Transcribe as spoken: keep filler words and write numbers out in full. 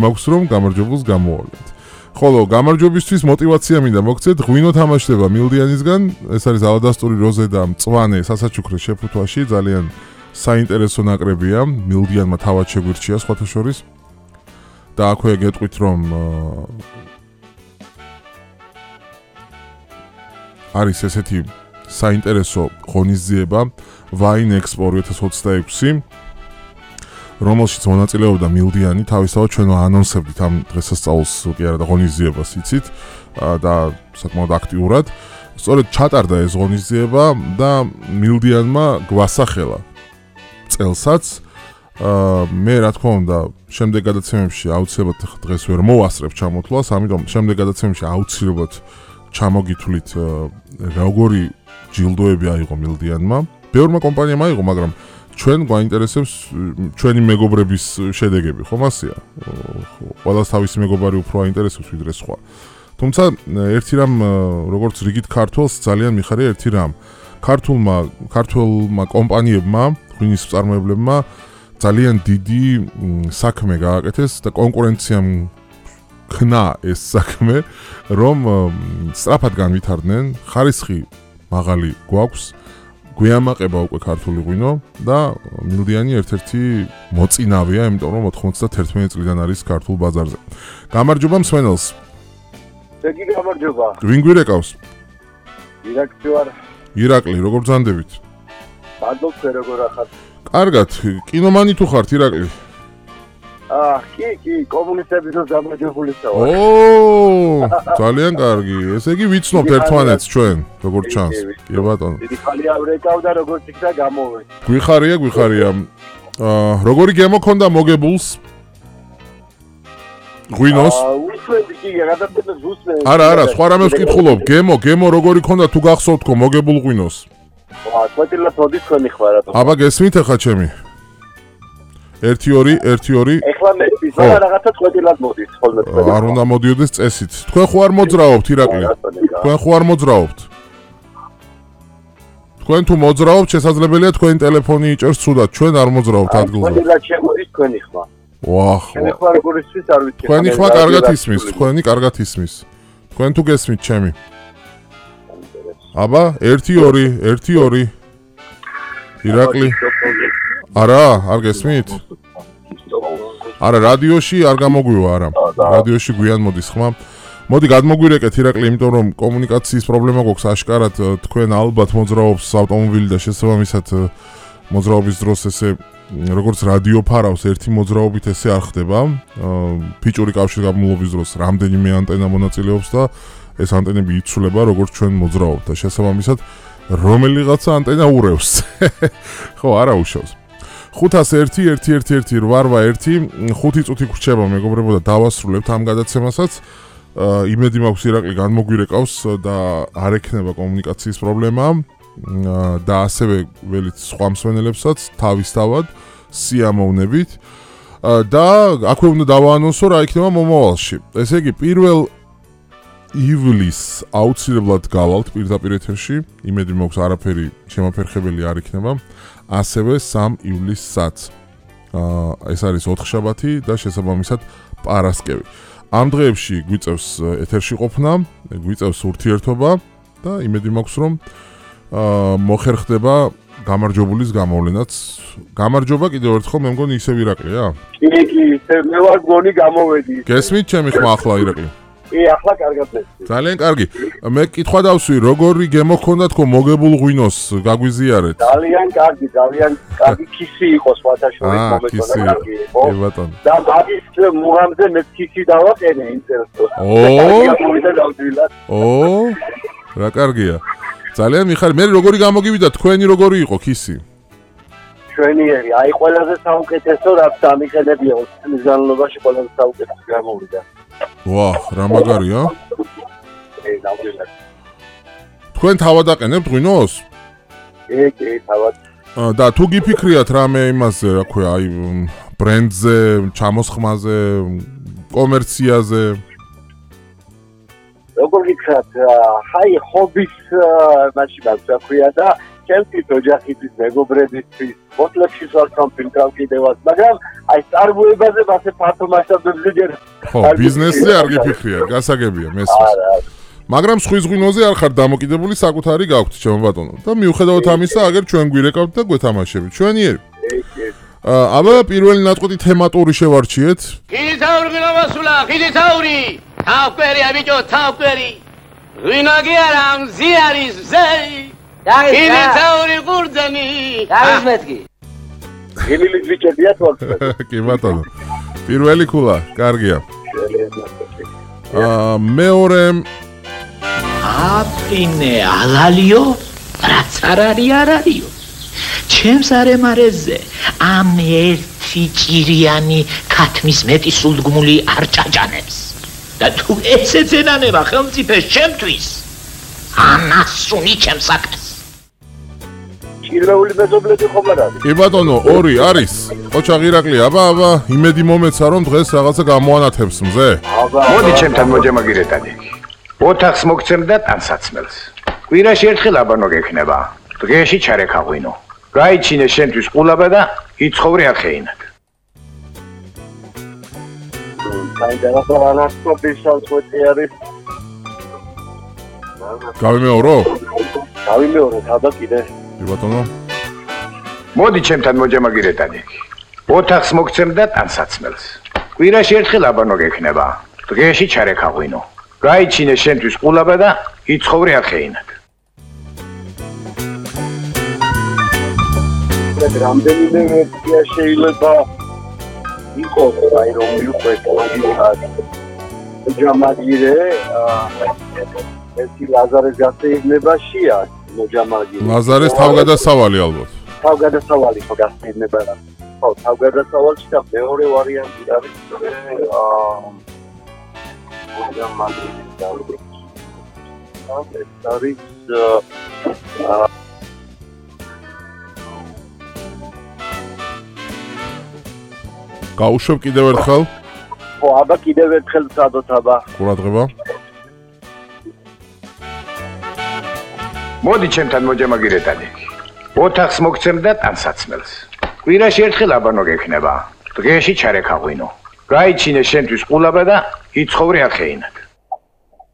მაქვს რომ გამარჯვებულს გამოავლენთ. ხოლო გამარჯვებისთვის мотиваცია მინდა მოგცეთ, ღვინო თამაშდება მილდიანისგან, ეს არის ალადასტური როზე და მწვანე სასაჩუქრე შეფუთვაში, ძალიან საინტერესო ნაკრებია, მილდიანმა თავად შეგვირჩია სხვათა შორის. და აქვე გეტყვით რომ არის ესეთი საინტერესო ღონისძიება Wine Expo ორი ათას ოცდაექვსი, რომელშიც მონაწილეობდა მილდიანი, თავისთავად ჩვენ ანონსებდით ამ დღესასწაულს კი არა და ღონისძიებას იცით და საკმაოდ აქტიურად. სწორედ ჩატარდა ეს ღონისძიება და მილდიანმა გვასახელა წელსაც. მე რა თქმა უნდა შემდეგ გადაცემებში აუცილებლად დღეს ვერ მოვასწრებ ჩამოთვლას, ამიტომ შემდეგ გადაცემებში აუცილებლად ჩამოგითვლით როგორი ჯილდოები აიღო მილდიანმა. ბევრმა კომპანიამ აიღო, მაგრამ ჩვენ გვაინტერესებს ჩვენი მეგობრების შედეგები, ხომ ასეა? ყველას თავისი მეგობარი უფრო აინტერესებს ვიდრე სხვა. თუმცა ერთი რამ როგორც რიგით ქართულს ძალიან მიხარია ერთი რამ. ქართულმა ქართულმა კომპანიებმა, ღვინის მწარმოებლებმა ძალიან დიდი საქმე გააკეთეს და კონკურენციამ ქნა ეს საქმე, რომ სწრაფად განვითარდნენ, ხარისხი მაღალი გვაქვს, გვიამაყება უკვე ქართული ღვინო და მილდიანი ერთ-ერთი მოწინავეა, იმიტომ რომ ოთხმოცდაათერთმეტი წლიდან არის ქართულ ბაზარზე. გამარჯობა მსმენელს. ზეგი გამარჯობა. ვინ გვირეკავს? ირაკლი ვარ. ირაკლი, როგორ ბრძანდებით? მადლობთ, როგორ ახართ? კარგად, კინომანი თუ ხართ ირაკლი? აა, კი, კი, კომუნისტებისთვის გამარჯვებულისა ვარ. ო, ძალიან კარგი. ესე იგი ვიცნობთ ერთმანეთს ჩვენ, როგორ ჩანს. კი ბატონო. დიდი ხალია ვრეკავ და როგორც იქნა გამოვედი. გვიხარია, გვიხარია. აა, როგორი გემო ქონდა მოგებულს? ღვინოს? აა, უსვები კი, გადაცემებს უსვები. არა, არა, სხვა რამეს ვკითხულობ. გემო, გემო როგორი ქონდა თუ გახსოვთ ხო მოგებულ ღვინოს? აა, კვეთილად მოდის თქვენი ხმა რატო? აბა გესმით ახლა ჩემი? ერთი ორი ერთი ორი ეხლა მე ვიზა რაღაცა კვეთილად მოდის ხოლმე თქვენ. არ უნდა მოდიოდეს წესით. თქვენ ხო არ მოძრაობთ ირაკლი? თქვენ ხო არ მოძრაობთ? თქვენ თუ მოძრაობთ, შესაძლებელია თქვენი ტელეფონი იჭერს ცუდად, ჩვენ არ მოძრაობთ ადგილზე. კვეთილად შემოდის თქვენი ხმა. ვახ. თქვენი ხმა როგორ ისმის არ ვიცი. თქვენი ხმა კარგად ისმის, თქვენი კარგად ისმის. თქვენ თუ გესმით ჩემი? აბა ერთი ორი ერთი ორი ირაკლი არა, არ გესმით? არა, რადიოში არ გამოგვივა, არა. რადიოში გვიან მოდის ხმა. მოდი გადმოგვირეკეთ ირაკლი, იმიტომ რომ კომუნიკაციის პრობლემა გვაქვს აშკარად, თქვენ ალბათ მოძრაობს ავტომობილი და შესაბამისად მოძრაობის დროს ესე როგორც რადიო ფარავს ერთი მოძრაობით ესე არ ხდება. ფიჭური კავშირგაბმულობის დროს რამდენიმე ანტენა მონაწილეობს და ეს ანტენები იცვლება როგორც ჩვენ მოძრაობთ და შესაბამისად რომელიღაცა ანტენა ურევს. ხო, არა უშავს. ხუთას ერთი ერთი ერთი ერთი რვა ერთი ხუთი წუთი გვრჩება მეგობრებო და დავასრულებთ ამ გადაცემასაც. იმედი მაქვს ირაკლი განმოგვირეკავს და არ ექნება კომუნიკაციის პრობლემა და ასევე ველით სხვა მსმენელებსაც თავისთავად სიამოვნებით და აქვე უნდა დავაანონსო რა იქნება მომავალში. ესე იგი პირველ ივლისს აუცილებლად გავალთ პირდაპირ ეთერში, იმედი მაქვს არაფერი შემაფერხებელი არ იქნება. ასევე სამი ივლისსაც. აა ეს არის ოთხშაბათი და შესაბამისად პარასკევი. ამ დღეებში გვიწევს ეთერში ყოფნა, გვიწევს ურთიერთობა და იმედი მაქვს რომ აა მოხერხდება გამარჯვებულის გამოვლენაც. გამარჯობა კიდევ ერთხელ, მე მგონი ისევ ირაკლია? კი, კი, მე ვარ გონი გამოვედი. გესმით ჩემი ხმა ახლა ირაკლი? კი, ახლა კარგად მესმის. ძალიან კარგი. მე კითხვა დავსვი, როგორი გემო გქონდათ ხო მოგებულ ღვინოს, გაგვიზიარეთ? ძალიან კარგი, ძალიან კარგი ქისი იყო სხვათა შორის მომეწონა კარგი იყო. კი ბატონო. და მაგის მუღამზე მე ქისი დავაყენე იმ წელს. ო! ო! რა კარგია. ძალიან მიხარ, მე როგორი გამოგივიდა, თქვენი როგორი იყო ქისი? ჩვენიერი, აი ყველაზე საუკეთესო რაც დამიყენებია ოცი წლის განმავლობაში ყველაზე საუკეთესო გამოვიდა. ვაჰ, რა მაგარია? თქვენ თავად აყენებთ ღვინოს? კი, კი, თავად. და თუ გიფიქრიათ რამე იმაზე, რა ქვია, აი ბრენდზე, ჩამოსხმაზე, კომერციაზე? როგორ გითხრათ, აი ჰობის მაშინ მაგ რა ქვია და ჩემთვის ოჯახისთვის, მეგობრებისთვის, ფოტოებში ვარ სამფილტრავ კიდევაც, მაგრამ აი წარმოებაზე მასე ფართო მასშტაბებზე ჯერ ხო, ბიზნესზე არ გიფიქრია, გასაგებია მესმის. არა, არა. მაგრამ სხვის ღვინოზე არ ხარ დამოკიდებული, საკუთარი გაქვთ, ჩემო ბატონო. და მიუხედავად ამისა, აგერ ჩვენ გვირეკავთ და გვეთამაშებით. ჩვენიერი. აბა პირველი ნაწყვეტი თემატური შევარჩიეთ. ხიდითაური გინომასულა, ხიდითაური. თავკვერია ბიჭო, თავკვერი. ვინაგი არა მზი არის მზე. ხიდითაური ყურძენი. დავის მეთქი. გილილის ბიჭებია თვალს. კი ბატონო. პირველი ქულა, კარგია. აა მეორე აფრინე ალალიო რაც არ არის არ არისო ჩემს არემარეზე ამ ერთი ჭირიანი ქათმის მეტი სულდგმული არ ჭაჭანებს და თუ ეცეცენანება ხელმწიფეს ჩემთვის ანასუნი ჩემს საქმეს ჭირვეული მეზობლები ხომ არ არის? კი ბატონო, ორი არის. ოჩაღ ირაკლი, აბა აბა, იმედი მომეცა რომ დღეს რაღაცა გამოანათებს მზე. მოდი ჩემთან მოჯამაგირეთადი. ოთახს მოგცემ და ტანსაცმელს. კვირაში ერთხელ აბანო გექნება. დღეში ჩარექაღვინო. გაიჩინე შენთვის ყულაბა და იცხოვრე ახეინად. საინტერესო ანასტოპის საწყვეტი არის. გავიმეორო? გავიმეორო, თავდა კიდე. კი ბატონო. მოდი ჩემთან მოჯამაგირეთადი. ოთახს მოგცემ და ტანსაცმელს. კვირაში ერთხელ აბანო გექნება. დღეში ჩარექაღვინო. გაიჩინე შენთვის ყულაბა და იცხოვრე ახეინად. რამდენიმე ვერსია შეიძლება იყოს, აი რომ მიუყვეთ ლოგიკად. მოჯამაგირე, ერთი ლაზარეს გასეირნებაშია, მოჯამაგირე. ლაზარეს თავგადასავალი ალბათ. თავგადასავალი ხო გასეირნება რა. ხო, თავგადასავალში და მეორე ვარიანტი არის აა მოჯამაგირე და ეს არის აა გაუშვებ კიდევ ერთხელ? ხო, აბა კიდევ ერთხელ ვცადოთ აბა. ყურადღება. მოდი ჩემთან მოჯამაგირეთადი. ოთახს მოგცემ და ტანსაცმელს. კვირაში ერთხელ აბანო გექნება. დღეში ჩარექაღვინო. გაიჩინე შენთვის ყულაბა და იცხოვრე ახეინად.